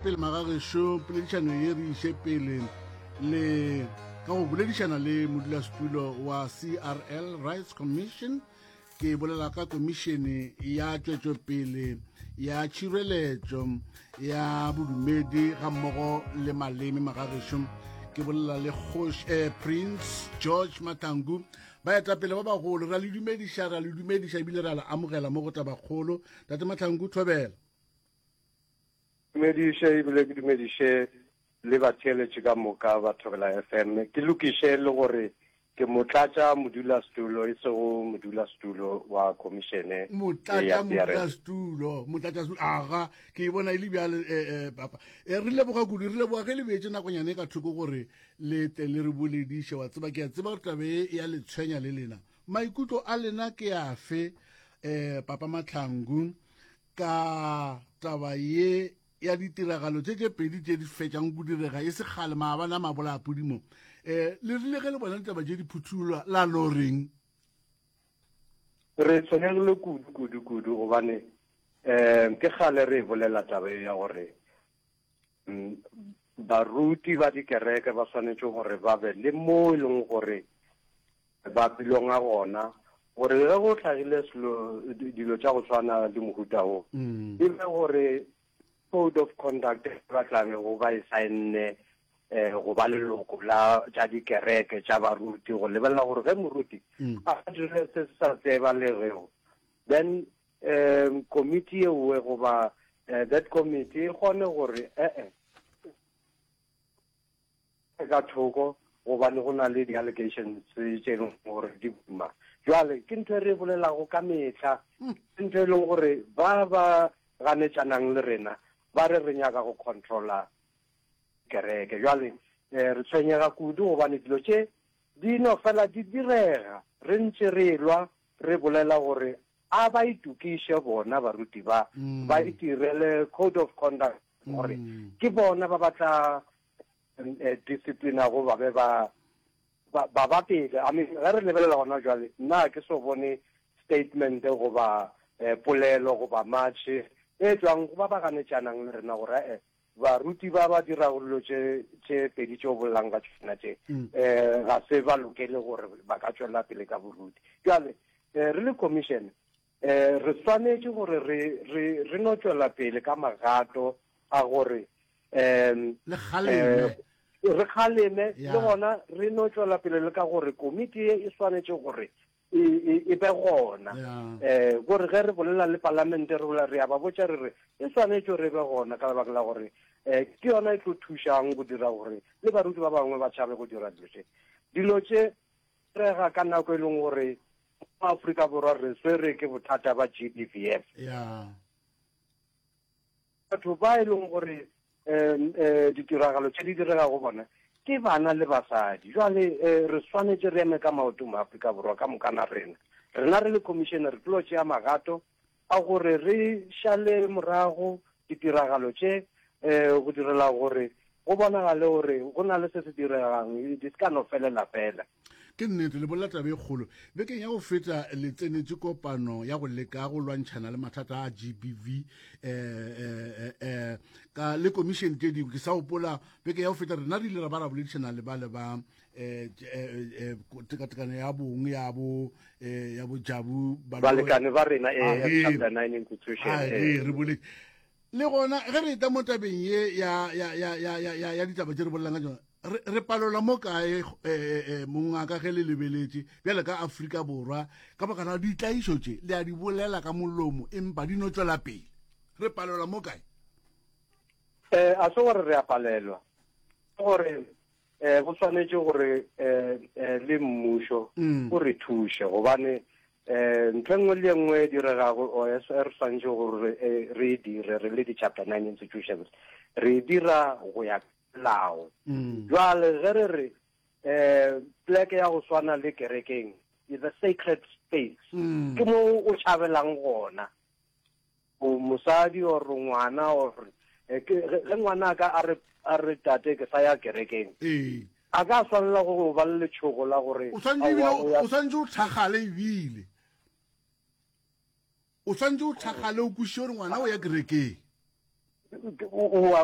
pele magagešo poledišano ye re iše pele le ka go boledišana le modulasetulo wa CRL Rights Commission ke bolela ka komišene ya tšwetšopele ya tšhireletšo ya bodumedi ga mmogo le maleme magagešo ke bolela le kgoši eh, prince george matangu baetapele ba bagolo ra le dumediša ra le dumediša ebile ra le amogela mo go tabakgolo tate mahlangu thobela Dumediše ebile ke dumediše le batheeletši ka moka ba Thobela FM. Ke lokiše le gore ke motlatša modulasetulo e sego modulasetulo wa khomišene motlatša ya CRS. modulasetulo motlatša setulo aga ke e bona e le bjale eh, eh, papa eh, re leboga kudu re leboga ge le beetše nakonyane e ka thoko gore le tle le re bolediše wa tseba ke a tseba gore tabe e ya le tshwenya le lena Maikutlo a lena ke afe, eh, Papa Mahlangu, ka taba ye ya ditiragalo tše tše pedi tše di fetšang go direga e se kgale maabane a mabolapodi mo? Eh, le rile ge le bona ditaba tše di phuthullwa la no reng? Re tshwenyegile kudu, kudu, kudu gobane um ke kgale re e bolela taba ye ya gore mm, baruti ba dikereke ba swanetše gore ba be le mo e leng gore ba belonga gona gore ge go hlagile selo dilo tša go tshwana le mohuta wo mm. e be gore code of conduct ba tla bego ba e saenne eh go ba leloko la tša dikereke tša baruti go lebelela gore ge moruti mm. a dirile se se sa tsebalegego then um committee e nngwe goba eh, that committee e kgone gore ee ka thoko gobane go na le di-allegations tše e leng gore di boima. Jwale ke ntho e re e bolelago ka mehla, hmm. ke ntho e leng gore ba ba ganetšanang le rena ba re re nyaka go controla kereke. Jwale eh, re tshwenyega kudu gobane dilo tše di no fela di direga re ntše re lwa re bolela gore a ba itokiše bona baruti ba mm. ba itirele code of conduct gore mm. ke bona ba ba tla eh, disciplinago ba be ba ba ba pele i mean ge re lebelela gona jwale nna ke so bone statement goba eh, polelo goba march e tswang go ba ba ganetšanang le rena gore eh baruti ba ba dirago dilo tše tše pedi tše o bolelang ka tšona tše um ga se ba lokele gore ba ka tšwela pele ka boruti jwale um re le commission um re swanetše gore re re re no tšwela pele ka magato a gore um le kgaleme re kgaleme le gona re no tšwela pele le ka gore komiti ye e swanetše gore e, e, e be gona um gore ge re bolela le palamente re bolela re ya ba botša re re e swanetše gore e be gona ka lebaka la gore um ke yona e tlo thušang go dira gore le baruti ba bangwe ba tšhabe go dira dilo tše dilo tše rega ka nako e leng gore mo Afrika Borwa re swere ke bothata ba GBVF yeah. Batho ba e leng gore um ditiragalo tše di direga go bona ke bana le basadi. Jwale um re swanetše re eme ka maoto mo Afrika Borwa ka moka na rena. Rena re le commission re tlo tšea magato a gore re šale morago ditiragalo tše um go direla gore go bonagale gore go na le se se diregang, di se ka no felela fela. Ke nnete, le bolela taba e kgolo. Bekeng ya go feta le tsenetše kopano ya go leka go lwantšhana le mathata a GBV eh, eh, eh, eh, ka le komišene tše dingwe. Ke sa gopola beke ya go feta rena re ile ra ba ra boledišana le ba le ba eh, eh, eh, tekatekano ya bong ya bo eh, ya bo Jabu Balekane ba rena eh, chapter 9 institution. Eh. Re boletše Le gona ge re etla mo tabeng ye ya, ya, ya, ya, ya, ya, ya ditaba tše re bolelang ka tšona, re, re palelwa mo kae, eh, eh, eh, mongaka ge le lebeletše bjale ka Afrika Borwa, ka baka la ditlaišo tše le a di bolela ka molomo empa di no tšwela pele. Re palelwa mo kae? Eh, a se gore re a palelwa, ke gore eh, go swanetše gore eh, eh, le mmušo mm. o re thuše gobane eh, ntho e nngwe le e nngwe e diregago o e re swanetše gore eh, re e dire re le di-chapter 9 institutions re e dira go ya lao mm. jwale ge re re um pleke ya go swana le kerekeng is a sacred space mm. ke mo o tšhabelang gona O mosadi or ngwana or eh, ke ge ngwana a ka a re a re tate ke sa ya kerekeng. Ee. A ka swanela go ba le letšhogo la gore o swanetše ebile o swanetše o thakgale ebile o swanetše o thakgale o kwešiše gore ngwana o ya kerekeng. O